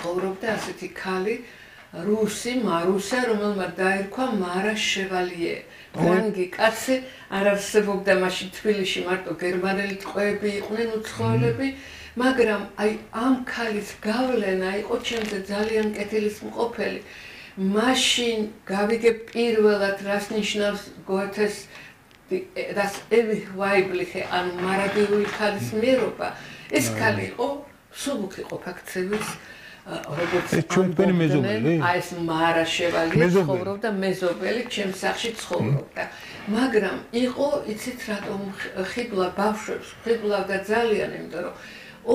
ცხოვრობდა ასეთი ქალი რუსი მარუსა, რომელმაც დაერქვა მარა შევალიე. ფრანგი კაცი არ არსებობდა მაშინ თბილისში მარტო გერმანელი ტყვეები იყვნენ უცხოელები, მაგრამ აი ამ ქალის გავლენა იყო ჩემზე ძალიან კეთილისმყოფელი. მაშინ გავიგე პირველად რას ნიშნავს გოეთეს das ewig weibliche ან მარადიული ქალის მიერობა. ეს ქალი იყო სულუქი ყოფაქცევის როგორც ჩვენი მეზობელი აი ეს მარა შევალიე ცხოვრობდა მეზობელი ჩემს სახლში ცხოვრობდა მაგრამ იყო იცით რატომ ხიბლა ბავშვებს ხიბლავდა ძალიან იმიტომ რომ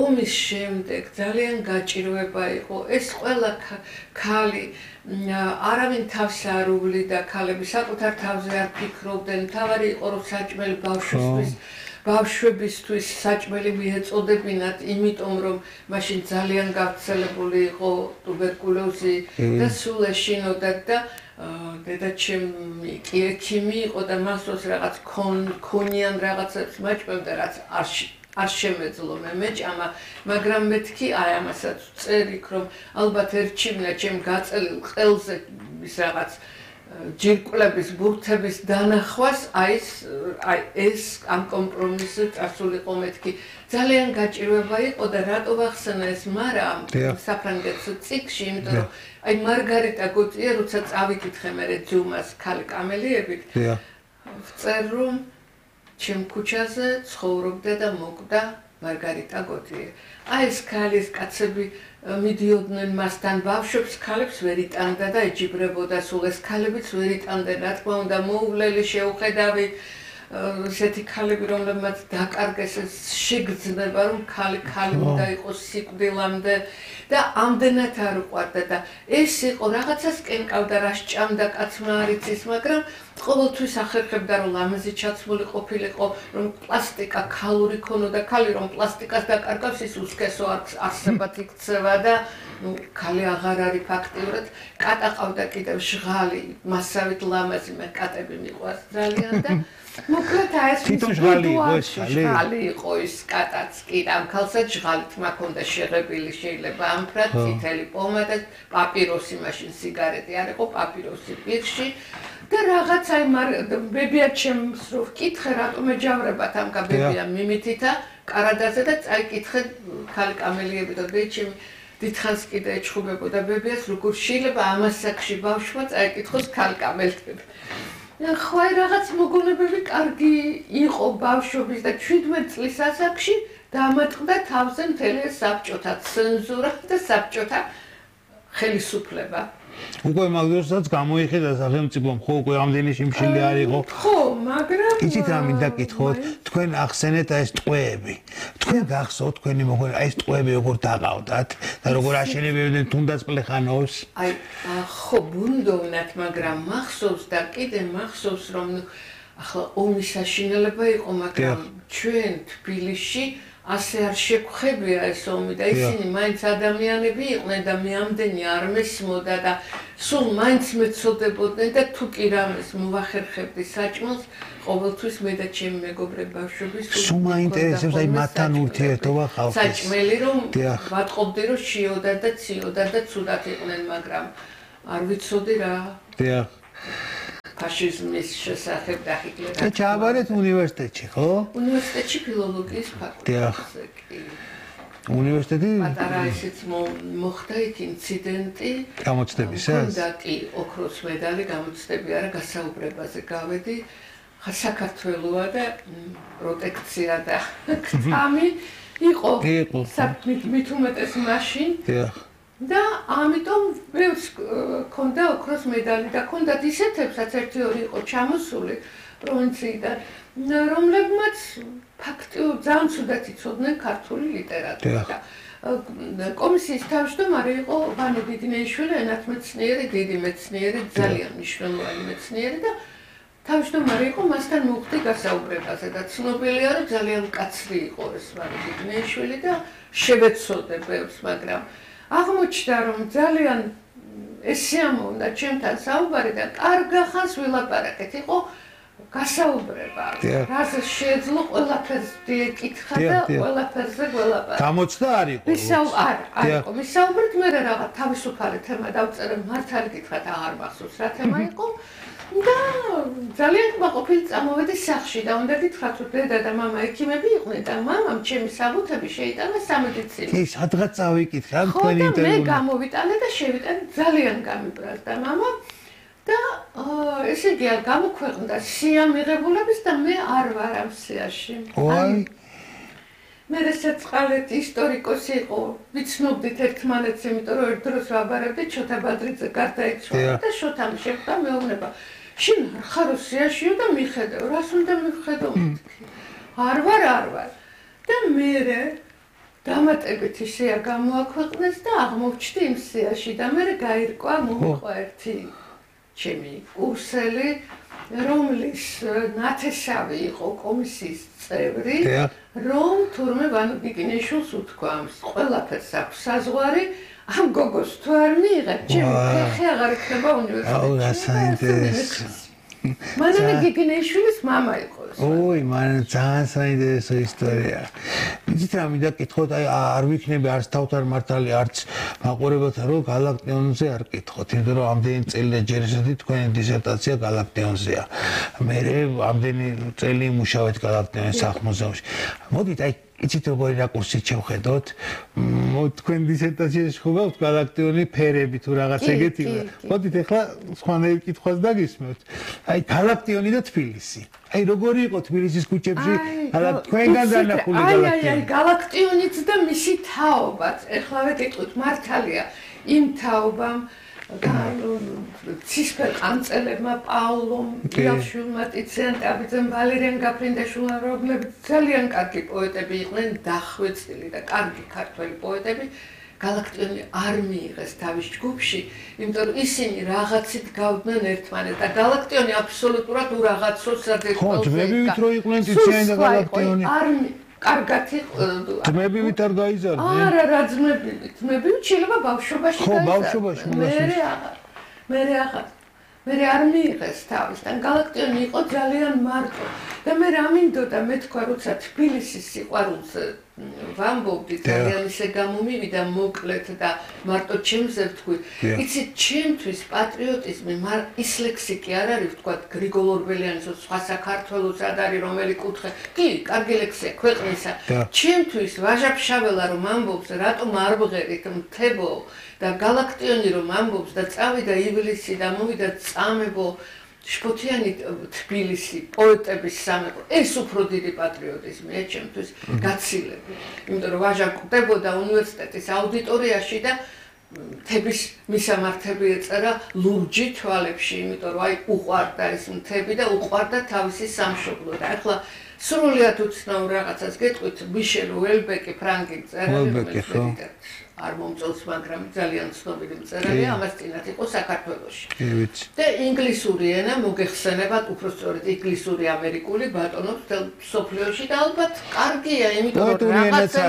ომის შემდეგ ძალიან გაჭირვება იყო ეს ყველა ქალი არავინ თავს არ უვლიდა ქალები საკუთარ თავზე არ ფიქრობდნენ თავარი იყო რომ საჭმელი ბავშვებისთვის საჭმელი მიეწოდებინათ იმიტომ რომ მაშინ ძალიან გავრცელებული იყო ტუბერკულოზი და სულ ეშინოდათ და დედაჩემი კი ექიმი იყო და მასოს რაღაც ქონიან რაღაცებს მაჭმევდა რაც არ შემეძლო მე მეჭამა მაგრამ მეთქი აი ამასაც წერიქ რომ ალბათ ერჩივნა ჩემ გაწელილ ყელზე ის რაღაც ჯირკვლების ბურთების დანახვას აი ეს ამ კომპრომისზე წასულიყო მეთქი ძალიან გაჭირვება იყო და რატო ვახსენა ეს მარა საფრანგეთის წიგში იმიტომ რომ აი მარგარიტა გოტია როცა წავიკითხე მე ძუმას ქალი კამელიებით ვწერ რომ ჩემ ქუჩაზე ცხოვრობდა და მოკვდა მარგარიტა გოტიე. აი ეს ქალის კაცები მიდიოდნენ მასთან ბავშვებს ქალებს ვერ იტანდა და ეჯიბრებოდა სულ ეს ქალებიც ვერ იტანდნენ რა თქმა უნდა მოუვლელი შეუხედავი ესეთი ქალები რომლებმაც დაკარგეს ეს შეგრძნება რომ ქალი უნდა იყოს სიკვდილამდე და ამდენად არ უყვარდა და ეს იყო რაღაცას კენკავდა რა სჭამდა კაცმა არ იცის მაგრამ ყოველთვის ახერხებდა რომ ლამაზი ჩაცმული ყოფილიყო რომ პლასტიკა ქალური ქონოდა ქალი რომ პლასტიკას დაკარგავს ის უსქესო არსებად იქცევა და ქალი აღარ არის ფაქტიურად კატა ყავდა კიდევ ჟღალი მასავით ლამაზი მე კატები მიყვარს ძალიან და მოკლედ აი ეს ჟღალი იყო ის კატაც კი ამ ქალსაც ჟღალით მაქონდა შეღებილი შეიძლება ამფრად წითელი პომადა პაპიროსი მაშინ სიგარეტი არ იყო პაპიროსი პირში და რაღაც აი ბებია ჩემს რო ვკითხე რატომ ეჯავრებათ ამ ბებია მიმითითა კარადაზე და წაიკითხე ქალი კამელიები და ბეჩემი დიდხანს კიდე ეჩხუბებოდა ბებიას როგორ შეიძლება ამ ასაკში ბავშვმა წაიკითხოს ქალი კამელიები ხო აი რაღაც მოგონებები კარგი იყო ბავშვობის და 17 წლის ასაკში დამატყდა თავზე მთელი საბჭოთა ცენზურა და საბჭოთა ხელისუფლება უკვე მაგდროსაც გამოიხედა სახელმწიფომ ხო უკვე ამდენი შიმშილი არ იყო ხო მაგრამ იცით რა მინდა გითხოთ თქვენ ახსენეთ აი ეს ტყვეები თქვენ გახსოვთ თქვენი მოგონება აი ეს ტყვეები როგორ დაყავდათ და როგორ აშენებდნენ თუნდაც პლეხანოვს აი ხო ბუნდოვნად მაგრამ მახსოვს და კიდე მახსოვს რომ ახლა ომის საშინელება იყო მაგრამ ჩვენ თბილისში ასე არ შეგხვებია ეს ომი და ისინი მაინც ადამიანები იყვნენ და მე ამდენი არ მესმოდა და სულ მაინც მეცოდებოდნენ და თუ კი რამეს მოვახერხებდი საჭმელს ყოველთვის მე და ჩემი მეგობრები ბავშვები სულ მაინტერესებს აი მათთან ურთიერთობა ხალხის საჭმელი რომ ვატყობდი რომ შიოდა და ციოდა და ცუდად იყვნენ მაგრამ არ ვიცოდი რა ფაშიზმის შესახებ და ჰიტლერის და ჩააბარეთ უნივერსიტეტში, ხო? უნივერსიტეტში ფილოლოგიის ფაკულტეტზე კი. უნივერსიტეტი პატარა ისიც მოხდა იქ ინციდენტი. გამოცდებისას? და კი, ოქროს მედალი გამოცდები არა გასაუბრებაზე გავედი. საქართველოა და პროტექცია და კრამი იყო. მით უმეტეს მაშინ. და ამიტომ ბევრს ქონდა ოქროს მედალი და ქონდათ ისეთებსაც ერთი ორი იყო ჩამოსული პროვინციიდან რომლებმაც ფაქტიურად ძალიან ცუდად იცოდნენ ქართული ლიტერატურა. კომისიის თავმჯდომარე იყო ვანო დიდინეიშვილი, ენათმეცნიერი, დიდი მეცნიერი, ძალიან მნიშვნელოვანი მეცნიერი და თავმჯდომარე იყო მასთან მოხდი გასაუბრებაზე და ცნობილია რომ ძალიან მკაცრი იყო ეს ვანო დიდინეიშვილი და შევეცოდე ბევრს, მაგრამ აღმოჩნდა რომ ძალიან ეს შეამოვნდა ჩემთან საუბარი და კარგა ხანს ვილაპარაკეთ. იყო გასაუბრება. რაზე შეეძლო ყველაფერს დიეკითხა და ყველაფერზე გველაპარაკა. გამოცდა არ იყო. არ იყო. მისაუბრეთ მე რაღაც თავისუფალი თემა დავწერე, მართალი გითხრათ აღარ მახსოვს რა თემა იყო. და ძალიან ყოფილი წამოვედი სახლში და უნდა გითხრათ რომ დედა და მამა ექიმები იყვნენ და მამამ ჩემი საბუთები შეიტანა სამედიცინო. კი, სადღაც წავიკითხე ამ თქვენი ინტერვიუ. მე გამოვიტანე და შევიტანე ძალიან გამიბრაზდა მამა და ესე იგი გამოქვეყნდა სია მიღებულების და მე არ ვარ ამ სიაში. ვაი. მე რასაწყალეთ ისტორიკოსი იყო, ვიცნობდით ერთმანეთს, იმიტომ რომ ერთ დროს ვაბარებდი ჩოთა ბადრიძე გარდაიცვალა და შოთამ შეხვდა მეუბნება. შენ არ ხარო სიაშიო და მიხედავ, რას უნდა მიხედავ მეთქი? არ ვარ. და მე დამატებით ისეა გამოაქვეყნეს და აღმოჩნდი იმ სიაში და მე გაირკვა მომიყვა ერთი ჩემი კურსელი, რომლის ნათესავი იყო კომისიის წევრი, რომ თურმე ვანო გიგინეიშვილს უთქვამს, ყველაფერს აქვს საზღვარი, ამ გოგოს თუ არ მიიღებ, ჩემი ფეხი აღარ იქნება უნივერსიტეტში. აუ, რა საინტერესო. მანამდე გიგინეიშვილის მამა იყო. ოი, მან ძალიან საინტერესო ისტორია. იცით რა მინდა კითხოთ, აი არ ვიქნები არც თავთან მართალი, არც მაყურებელთან რომ გალაქტიონზე არ კითხოთ, იმიტომ რომ ამდენი წელი და ჯერ ესეთი თქვენი დისერტაცია გალაქტიონზეა. მე ამდენი წელი იმუშავეთ გალაქტიონის სახლ-მუზეუმში. მოდით აი იცით როგორი რაკურსით შევხედოთ? თქვენ დისერტაციაში ხობავთ გალაქტიონი ფერები თუ რაღაც ეგეთი. მოდით ახლა სხვანაირ კითხვას დაგისმევთ. აი გალაქტიონი და თბილისი. აი როგორი იყო თბილისის ქუჩებში? თქვენგან დანახული გალაქტიონი. აი გალაქტიონიც და მისი თაობაც. ეხლავე გეტყვით მართალია იმ თაობამ ცისფერ ყანწელებმა პაულომ იალშვილმა ტიციან ტაბიძემ ვალერიან გაფრინდაშვილმა რომლებიც ძალიან კარგი პოეტები იყვნენ დახვეწილი და კარგი ქართველი პოეტები გალაქტიონი არ მიიღეს თავის ჯგუფში იმიტომ რომ ისინი რაღაცით გავდნენ ერთმანეთს და გალაქტიონი აბსოლუტურად ურაღაცოს საერთოდ ხო ძმებივით რო იყვნენ ტიციანი და გალაქტიონი კარგად იყო ძმებივით არ გაიზარდნენ არა რა ძმებივით შეიძლება ბავშვობაში ხო ბავშვობაში მე არ მიიღეს თავისთან გალაქტიონი იყო ძალიან მარტო და მე რა მინდოდა მე თქვა როცა თბილისის სიყვარულზე ვამბობდი ძალიან ისე გამომივიდა მოკლედ და მარტო ჩემზე ვთქვი იცით ჩემთვის პატრიოტიზმი ის ლექსიკი არ არის ვთქვა გრიგოლ ორბელიანის სხვა საქართველოს არ არის რომელი კუთხე კი კარგი ლექსია ქვეყნისა ჩემთვის ვაჟა-ფშაველა რომ ამბობს რატომ არ ვღერით მთებო და გალაქტიონი რომ ამბობს და წავიდა ივლისი და მოვიდა წამებო შფოთიანი თბილისი პოეტების სამეფო ეს უფრო დიდი პატრიოტიზმია ჩემთვის გაცილებით იმიტომ რომ ვაჟა კვდებოდა უნივერსიტეტის აუდიტორიაში და მთების მისამართები ეწერა ლურჯი თვალებში იმიტომ რომ აი უყვარდა ეს მთები და უყვარდა თავისი სამშობლო და ახლა სრულიად უცნაურ რაღაცას გეტყვით მიშელ უელბეკი ფრანკი მწერალი არ მომწონს მაგრამ ძალიან ცნობილი მწერალია ამას წინათ იყო საქართველოში და ინგლისური ენა მოგეხსენებათ უпростоრეთ ინგლისური ამერიკული ბატონობს თელ სოფლიოში და ალბათ კარგია იმიტომ რომ რაღაცა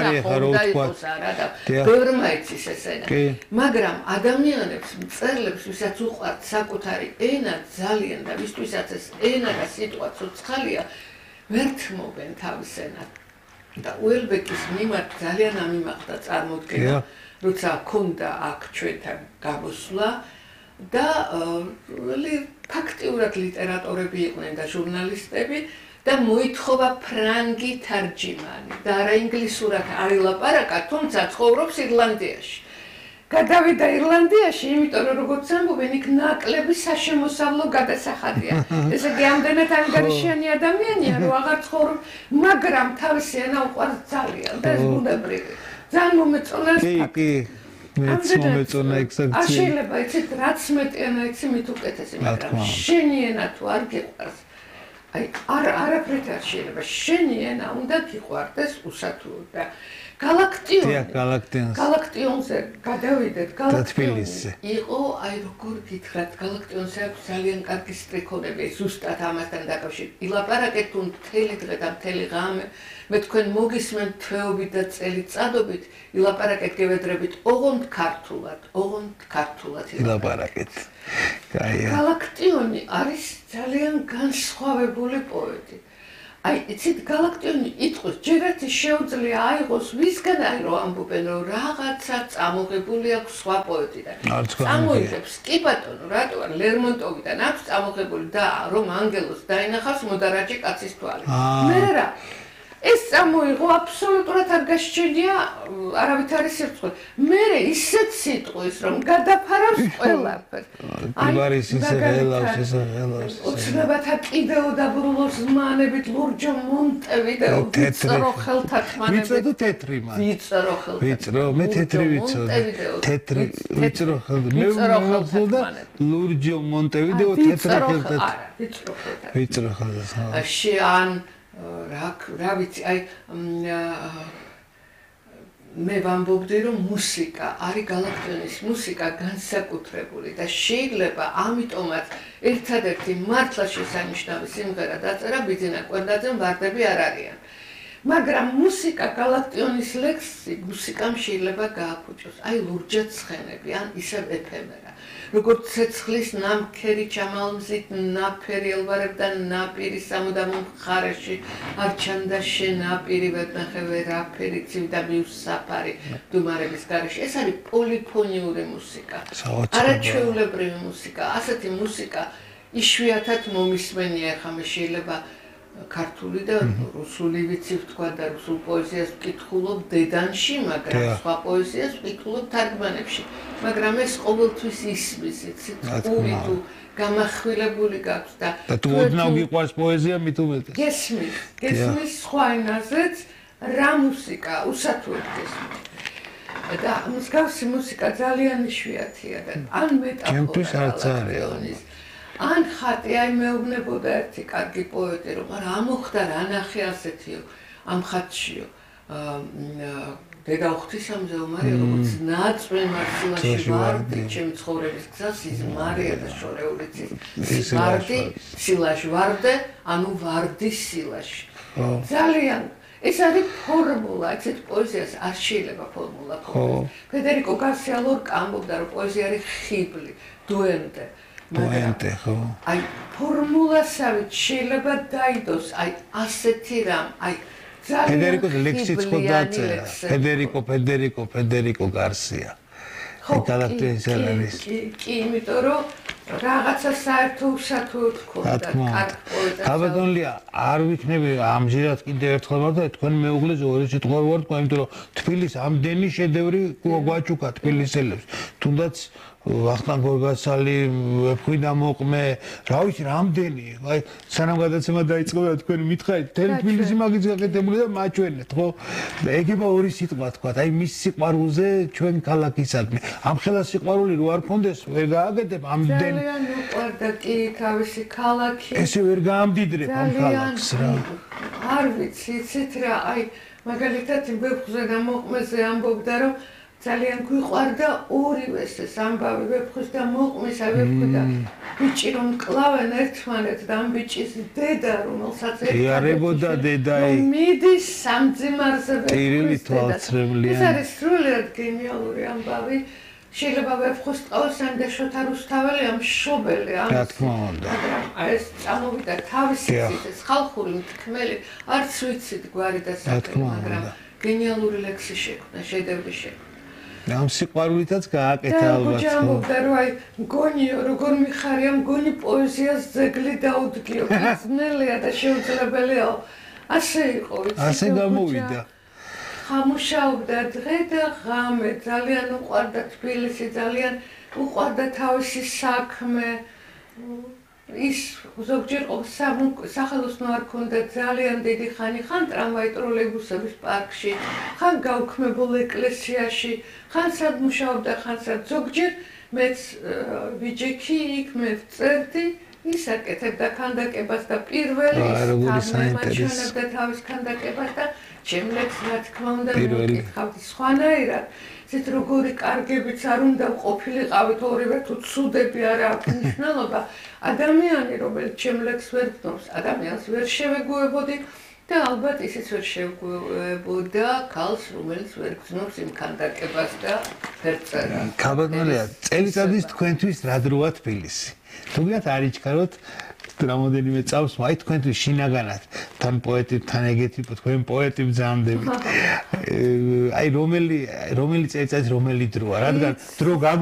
უნდა იყოს არა და ბევრმა იცის ეს ენა მაგრამ ადამიანებს მწერლებს ვისაც უყვართ საკუთარი ენა ძალიან და ვისთვისაც ეს ენა და სიტყვა ცოცხალია ვერ თმობენ თავის ენად და უელბეკის მიმართ ძალიან ამიმაღდა წარმოდგენა როცა ქონდა აქ ჩვენთან გამოსვლა და ფაქტიურად ლიტერატორები იყვნენ და ჟურნალისტები და მოითხოვა ფრანგი თარჯიმანი და არა ინგლისურად არ ელაპარაკა თუმცა ცხოვრობს ირლანდიაში გადავიდა ირლანდიაში, იმიტომ რომ როგორც ამბობენ, იქ ნაკლები საშემოსავლო გადასახადია. ესე იგი, ამდენად ანგარიშიანი ადამიანია, რომ აღარ ცხოვრობს, მაგრამ თავისი ენა უყვარს ძალიან და ეს ბუნებრივი. ძალიან მომეწონა ეს ფაქტი. მეც მომეწონა ექსაქცია. შეიძლება იცით, რაც მეტი ენა იცი, მით უკეთესი, მაგრამ შენი ენა თუ არ გიყვარს, აი არაფრით არ შეიძლება. შენი ენა უნდა გიყვარდეს უსათუოდ და გალაქტიონზე გადავიდეთ. გალაქტიონზე იყო, აი როგორ გითხრათ, გალაქტიონზე აქვს ძალიან კარგი სტრიქონები, ზუსტად ამასთან დაკავშირებით. ილაპარაკეთ თუ მთელი დღე და მთელი ღამე, მე თქვენ მოგისმენთ თვეობით და წელიწადობით, ილაპარაკეთ გევედრებით ოღონდ ქართულად ილაპარაკეთ. კაია. გალაქტიონი არის ძალიან განსხვავებული პოეტი. აი, იცით, გალაქტიონი იტყვის, ჯერათი შეუძლია აიღოს ვისგან აი რომ ამბობენ, რომ რაღაცა წამოღებული აქვს სხვა პოეტიდან. წამოიღებს, კი ბატონო, რატო არ ლერმონტოვიდან აქვს წამოღებული და რომ ანგელოს დაინახავს მოდარაჯე კაცის თვალი. მე რა ეს წამოიღო აბსოლუტურად არ გასჩენია, არავით არის სირცხული. მე ისეთ სიტყვის, რომ გადაფარავს ყველაფერს. არის ისე ელავს. ოცნებათა კიდეო დაბრუნოს ზმანებით, ლურჯო მონტევიდეო, ვიწრო ხელთა თმანებით. ვიწრო თუ თეთრი მან? ვიწრო ხელთა. ვიწრო, მე თეთრი ვიცოდი. თეთრი, ვიწრო ხელთა. მე ვიწრო ლურჯო მონტევიდეო თეთრი ხელთა. არა, ვიწრო ხელთა. ვიწრო ხელთა. შენ რა ვიცი, აი მე ვამბობდი, რომ მუსიკა არის გალაქტიონის მუსიკა განსაკუთრებული და შეიძლება ამიტომაც ერთადერთი მართლა შესანიშნავი სიმღერა დაწერა ბიძინა კვერდაძემ, ვარდები არ არიან. მაგრამ მუსიკა გალაქტიონის ლექსი მუსიკამ შეიძლება გააფუჭოს. აი ლურჯად ცხენები, ან ისევ ეფემერა. როგორც ცეცხლის ნამქერი ჩამალმზით ნაფერი ელვარებდა ნაპირი სამუდამო მხარეში არ ჩანდა შენ ნაპირი ვეთნახე ვერაფერი ცივდა მიუსაფარი დუმარების გარეშე. ეს არის პოლიფონიური მუსიკა, არაჩვეულებრივი მუსიკა. ასეთი მუსიკა იშვიათად მომისმენია. ახლა მე შეიძლება ქართული და რუსული ვიცი ვთქვა და რუსულ პოეზიას ვკითხულობ დედანში, მაგრამ სხვა პოეზიას ვკითხულობ თარგმანებში. მაგრამ ეს ყოველთვის ისმის, იცით, ყური თუ გამახვილებული გაქვს და თუ ოდნავ გიყვარს პოეზია, მით უმეტეს. გესმის სხვა ენაზეც რა მუსიკა, უსათუოდ გესმის. და მსგავსი მუსიკა ძალიან იშვიათია და ან მეტაფორა ან ხატი, აი მეუბნებოდა ერთი კარგი პოეტი, რომ არა ამოხდა რა ნახე ასეთიო ამ ხატშიო. დედა ღვთისამზე უმარია, როგორც ნაწვი მარცილაში ვარდი, ჩემი ცხოვრების გზას იზმარია და შორეულიც ვარდი, სილაში ვარდე, ანუ ვარდი სილაში. ძალიან ეს არის ფორმულა, ესეთ პოეზიას არ შეიძლება ფორმულა ქონდეს. ფედერიკო გარსია ლორკა ამბობდა, რომ პოეზია არის ხიბლი, დუენდე. ხო. აი ფორმულასავით შეიძლება დაიდოს, აი ასეთი რამ, აი ფედერიკოს ლექსიც ხო დაწერა. ფედერიკო გარსია. გალაქტიონის არის. კი, იმიტომ რომ რაღაცა საერთო უსათუოდ ქონდა კარგი პოეტი. გაბატონლია, არ ვიქნები ამჟერად კიდევ ერთხელ ვარ თქვენ მეუღლეს ორი სიტყვა ვარ თქვა, იმიტომ რომ თბილისის ამდენი შედევრი გვაჩუკა თბილისელებს. თუნდაც ვახტანგ გორგასალი, ვეფხვი და მოყმე, რა ვიცი, რამდენი, აი სანამ გადაცემა დაიწყო და თქვენ მითხარით, თბილისი მაგის გაკეთებული და მაჩვენეთ, ხო? ეგება ორი სიტყვა თქვა, აი მის სიყვარულზე ჩვენ ქალაქისადმი. ამ ხელა სიყვარული რო არ ქონდეს, ვერ გააკეთებ ამდენ. ძალიან უყვარდა კი თავისი ქალაქი. ესე ვერ გაამდიდრებ ამ ქალაქს რა. არ ვიცი, იცით რა, აი მაგალითად ვეფხვზე და მოყმეზე ამბობდა, რომ ძალიან გვიყვარდა ორივეს ეს ამბავი ვეფხვის და მოყმის, ვეფხვი და ბიჭი რომ კლავენ ერთმანეთს და ამ ბიჭის დედა რომელსაც იარებოდა დედა მიდის სამძიმარზე ტირილი თვალცრემლიანი. ეს არის სრულიად გენიალური ამბავი. შეიძლება ვეფხვის ტყავსან და შოთა რუსთაველი ამშობელი რა თქმა უნდა. აი ეს წამოვიდა თავისი ცის ხალხური მთქმელი, არც ვიცით გვარი და საქმე, მაგრამ გენიალური ლექსი შექმნა, შედევრი შექმნა. ამ სიყვარულითაც გააკეთა ალბათ. და ამბობდა, რომ აი მგონიო, როგორ მიხარია მგონი პოეზიას ძეგლი დაუდგიო, ძნელია და შეუძლებელია. ასე იყო, იცით. ასე გამოვიდა. ხამუშაობდა დღე და ღამე, ძალიან უყვარდა თბილისი, ძალიან უყვარდა თავისი საქმე. ის ზოგჯერ სახელოსნო არ ქონდა ძალიან დიდი ხანი, ხან ტრამვაი ტროლეიბუსების პარკში, ხან გაუქმებულ ეკლესიაში, ხან სად მუშაობდა, ხან სად. ზოგჯერ მეც ვიჯექი იქ მე ვწერდი ის აკეთებდა ქანდაკებას და პირველი თამაშობდა თავის ქანდაკებას და ჩემლექს რა თქმა უნდა მეკითხავდი სხვანაირად ისეთ როგორი კარგებიც არ უნდა ყოფილიყავით ორივე თუ ცუდები არა აქვს მნიშვნელობა ადამიანი რომელიც ჩემლექს ვერ გნობს ადამიანს ვერ შევეგუებოდი და ალბათ ისიც ვერ შევეგუებოდა ქალს რომელიც ვერ გზნობს იმ ქანდაკებას და ფერწერას ქალბატონია წელიწადის თქვენთვის რა დროა თბილისი თუმცა არ იჩქაროთ რამოდენიმე წავს აი თქვენთვის შინაგანად თან პოეტებთან ეგეთი თქვენ პოეტი ბრძანდებით აი რომელი წელიწადის რომელი დროა რადგან დრო